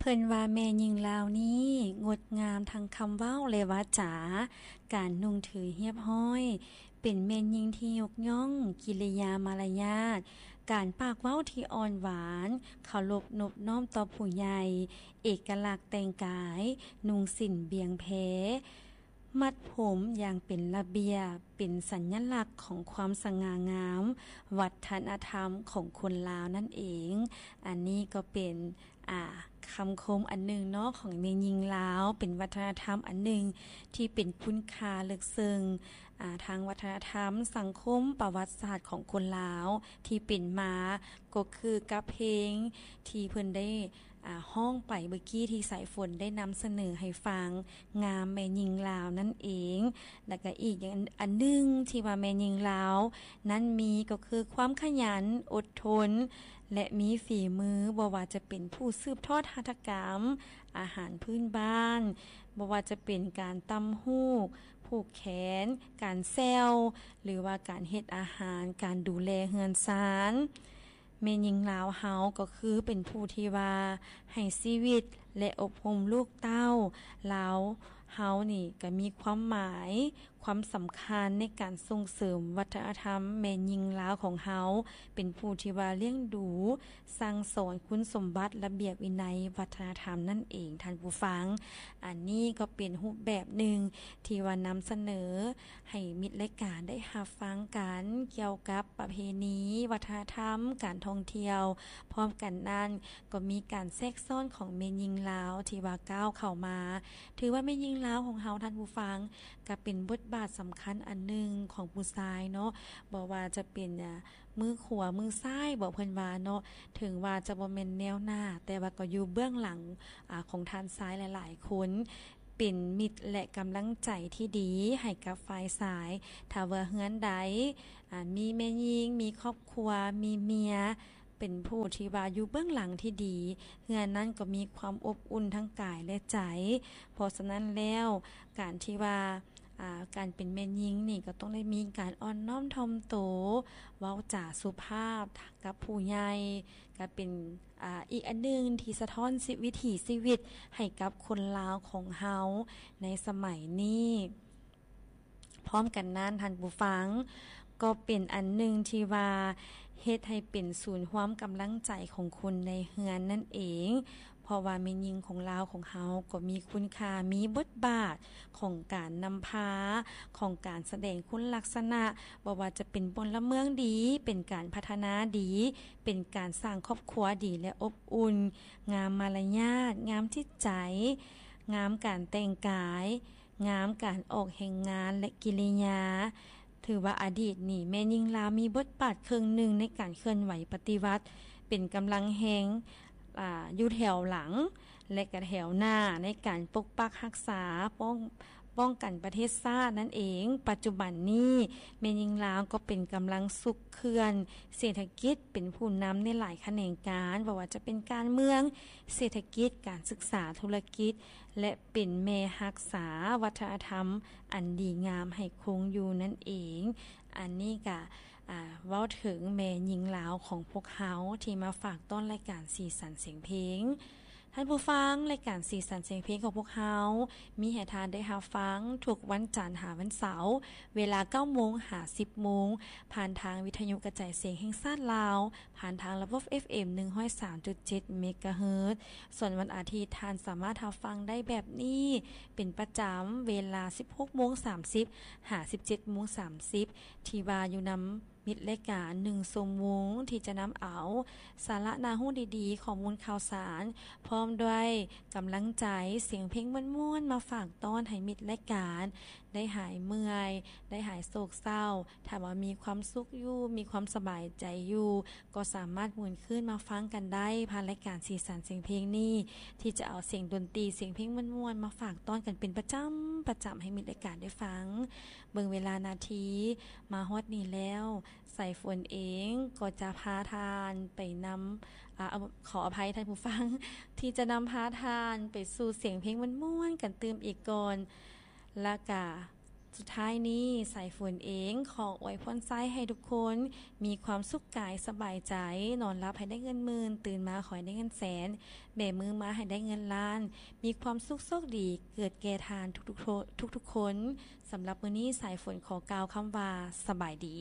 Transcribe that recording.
ເພິ່ນວ່າແມ່ຍິງລາວນີ້ງົດງາມທັງຄຳເວົ້າ ແລະ ວາຈາ, ການນຸ່ງຖືຮຽບຮ້ອຍ, ເປັນແມ່ຍິງທີ່ຍົກຍ້ອງກິລິຍາມາລະຍາດ, ການປາກເວົ້າທີ່ອ່ອນຫວານ, ເຄົາລົບນົບນ້ອມຕໍ່ຜູ້ໃຫຍ່, ເອກະລັກແຕ່ງກາຍ, ນຸ່ງສິ້ນບຽງແພ, ມັດຜົມຢ່າງເປັນລະບຽບ, ເປັນສັນຍະລັກຂອງຄວາມສະຫງ່າງາມ, ວັດທະນະທຳຂອງຄົນລາວນັ້ນເອງ. ອັນນີ້ກໍເປັນ ອາ ຄຳຄົມອັນໜຶ່ງເນາະ ຂອງແມ່ຍິງລາວ, ເປັນວັດທະນະທຳອັນໜຶ່ງທີ່ເປັນຄຸນຄ່າເລິກເຊິ່ງ ອາ ທາງວັດທະນະທຳ, ສັງຄົມ, ປະຫວັດສາດຂອງຄົນລາວທີ່ເປັນມາ, ກໍຄືກັບເພງທີ່ເພິ່ນໄດ້ ອາ ຮ້ອງໄປເມື່ອກີ້ທີ່ສາຍຝົນໄດ້ນຳສະເໜີໃຫ້ຟັງ, ງາມແມ່ຍິງລາວນັ້ນເອງ. ແລ້ວກໍອີກຢ່າງອັນໜຶ່ງທີ່ວ່າແມ່ຍິງລາວນັ້ນມີ ກໍຄືຄວາມຂະຫຍັນ, ອົດທົນ ແລະ ມີຝີມື, ບໍ່ວ່າຈະເປັນຜູ້ສືບທອດຫັດຖະກຳ, ອາຫານພື້ນບ້ານ, ບໍ່ວ່າຈະເປັນການຕ່ຳຫູກ, ຜູກແຂນ, ການແຊວ ຫຼືວ່າການເຮັດອາຫານ, ການດູແລເຮືອນຊານ. ແມ່ຍິງລາວເຮົາກໍຄືເປັນຜູ້ທີ່ວ່າໃຫ້ຊີວິດ ແລະ ອົບຮົມລູກເຕົ້າ. ລາວເຮົານີ້ກໍມີຄວາມໝາຍ, ຄວາມສຳຄັນໃນການສົ່ງເສີມວັດທະນະທຳແມ່ຍິງລາວຂອງເຮົາ, ເປັນຜູ້ທີ່ວ່າລ້ຽງດູ, ສັ່ງສອນຄຸນສົມບັດ, ລະບຽບວິໄນ, ວັດທະນະທຳນັ້ນເອງ, ທ່ານຜູ້ຟັງ. ອັນນີ້ກໍເປັນຮູບແບບໜຶ່ງທີ່ວ່ານຳສະເໜີ ໃຫ້ມິດລາຍການໄດ້ຮັບຟັງກັນ ກ່ຽວກັບປະເພນີວັດທະນະທຳ ການທ່ອງທ່ຽວ. ພ້ອມກັນນັ້ນກໍມີການແຊກຊ້ອນຂອງແມ່ຍິງລາວທີ່ວ່າກ້າວເຂົ້າມາ. ຖືວ່າແມ່ຍິງລາວຂອງເຮົາ, ທ່ານຜູ້ຟັງ, ກໍເປັນບົດບາດສຳຄັນອັນໜຶ່ງຂອງຜູ້ຊາຍເນາະ, ບໍ່ວ່າຈະເປັນ ອາ ມືຂວາມືຊ້າຍບໍ ເພິ່ນວ່າເນາະ, ເຖິງວ່າຈະບໍ່ແມ່ນແນວໜ້າ ແຕ່ວ່າກໍຢູ່ເບື້ອງຫຼັງ ອາ ຂອງທ່ານຊາຍຫຼາຍໆຄົນ. ເປັນມິດ ແລະ ກຳລັງໃຈທີ່ດີໃຫ້ກັບຝ່າຍຊາຍ. ຖ້າວ່າເຮືອນໃດ ອາ ມີແມ່ຍິງ, ມີຄອບຄົວ, ມີເມຍ, ເປັນຜູ້ທີ່ວ່າຢູ່ເບື້ອງຫຼັງທີ່ດີ, ເຮືອນນັ້ນກໍມີຄວາມອົບອຸ່ນທັງກາຍ ແລະ ໃຈ. ເພາະສະນັ້ນແລ້ວ, ການທີ່ວ່າ ອາ ການເປັນແມ່ຍິງນີ້ກໍຕ້ອງໄດ້ມີການອ່ອນນ້ອມຖ່ອມໂຕ, ເວົ້າຈາສຸພາບກັບຜູ້ໃຫຍ່, ກໍເປັນ ອາ ອີກອັນໜຶ່ງທີ່ສະທ້ອນຊີ- ວິຖີຊີວິດໃຫ້ກັບຄົນລາວຂອງເຮົາໃນສະໄໝນີ້. ພ້ອມກັນນັ້ນ, ທ່ານຜູ້ຟັງ, ກໍເປັນອັນໜຶ່ງທີ່ວ່າເຮັດໃຫ້ເປັນສູນຮວມກຳລັງໃຈຂອງຄົນໃນເຮືອນນັ້ນເອງ. ເພາະວ່າແມ່ຍິງຂອງລາວຂອງເຮົາກໍມີຄຸນຄ່າ, ມີບົດບາດຂອງການນຳພາ, ຂອງການສະແດງຄຸນລັກສະນະ, ບໍ່ວ່າຈະເປັນພົນລະເມືອງດີ, ເປັນການພັດທະນາດີ, ເປັນການສ້າງຄອບຄົວດີ ແລະ ອົບອຸ່ນ, ງາມມາລະຍາດ, ງາມຈິດໃຈ, ງາມການແຕ່ງກາຍ, ງາມການອອກແຮງງານ ແລະ ກິລິຍາ. ຖືວ່າອະດີດນີ້ ແມ່ຍິງລາວມີບົດບາດເຄິ່ງໜຶ່ງໃນການເຄື່ອນໄຫວປະຕິວັດ, ເປັນກຳລັງແຮງ ອາ ຢູ່ແຖວຫຼັງ ແລະ ກະແຖວໜ້າໃນການປົກປັກຮັກສາ, ປ້ອງ ປ້ອງກັນປະເທດຊາດນັ້ນເອງ. ປັດຈຸບັນນີ້ ແມ່ຍິງລາວກໍເປັນກຳລັງຊຸກເຄື່ອນເສດຖະກິດ, ເປັນຜູ້ນຳໃນຫຼາຍຂະແໜງການ, ບໍ່ວ່າຈະເປັນການເມືອງ, ເສດຖະກິດ, ການສຶກສາ, ທຸລະກິດ ແລະ ເປັນແມ່ຮັກສາວັດທະນະທຳອັນດີງາມໃຫ້ຄົງຢູ່ນັ້ນເອງ. ອັນນີ້ກະ ອາ ເວົ້າເຖິງແມ່ຍິງລາວຂອງພວກເຮົາທີ່ມາຝາກຕ້ອນລາຍການສີສັນສຽງເພງ. ທ່ານຜູ້ຟັງ, ລາຍການສີສັນສຽງເພງຂອງພວກເຮົາ ມີໃຫ້ທ່ານໄດ້ຮັບຟັງທຸກວັນຈັນຫາວັນເສົາ ເວລາເກົ້າໂມງຫາສິບໂມງ ຜ່ານທາງວິທະຍຸກະຈາຍສຽງແຫ່ງຊາດລາວ ຜ່ານທາງລະບົບ ເອັຟເອັມ ໜຶ່ງຮ້ອຍສາມຈຸດເຈັດ ເມກາເຮີດ. ສ່ວນວັນອາທິດ ທ່ານສາມາດຮັບຟັງໄດ້ແບບນີ້ເປັນປະຈຳ ເວລາສິບຫົກໂມງສາມສິບ ຫາສິບເຈັດໂມງສາມສິບ ທີ່ວ່າຢູ່ນຳມິດລາຍການໜຶ່ງຊົ່ວໂມງ ທີ່ຈະນຳເອົາສາລະໜ້າຮູ້ດີໆ, ຂໍ້ມູນຂ່າວສານ ພ້ອມດ້ວຍກຳລັງໃຈ, ສຽງເພງມ່ວນໆ ມາຝາກຕ້ອນໃຫ້ມິດລາຍການໄດ້ຫາຍເມື່ອຍ, ໄດ້ຫາຍໂສກເສົ້າ. ຖ້າວ່າມີຄວາມສຸກຢູ່, ມີຄວາມສະບາຍໃຈຢູ່, ກໍສາມາດໝູນຄືນມາຟັງກັນໄດ້ ຜ່ານລາຍການສີສັນສຽງເພງນີ້ ທີ່ຈະເອົາສຽງດົນຕີ, ສຽງເພງມ່ວນໆ ມາຝາກຕ້ອນກັນເປັນປະຈຳ, ປະຈຳໃຫ້ມິດລາຍການໄດ້ຟັງ. ເບິ່ງເວລານາທີ ມາຮອດນີ້ແລ້ວ, ສາຍຝົນເອງກໍຈະພາທ່ານໄປນຳ, ອາ, ຂໍອະໄພທ່ານຜູ້ຟັງ, ທີ່ຈະນຳພາທ່ານໄປສູ່ສຽງເພງມ່ວນໆ ກັນຕື່ມອີກກ່ອນ. ແລ້ວກະ ສຸດທ້າຍນີ້ ສາຍຝົນເອງຂໍອວຍພອນໄຊໃຫ້ທຸກຄົນມີຄວາມສຸກກາຍສະບາຍໃຈ, ນອນຫຼັບໃຫ້ໄດ້ເງິນໝື່ນ, ຕື່ນມາຂໍໃຫ້ໄດ້ເງິນແສນ, ແບມືມາໃຫ້ໄດ້ເງິນລ້ານ, ມີຄວາມສຸກໂຊກດີເກີດແກ່ທ່ານທຸກໆຄົນ. ສຳລັບມື້ນີ້ ສາຍຝົນຂໍກ່າວຄຳວ່າ ສະບາຍດີ.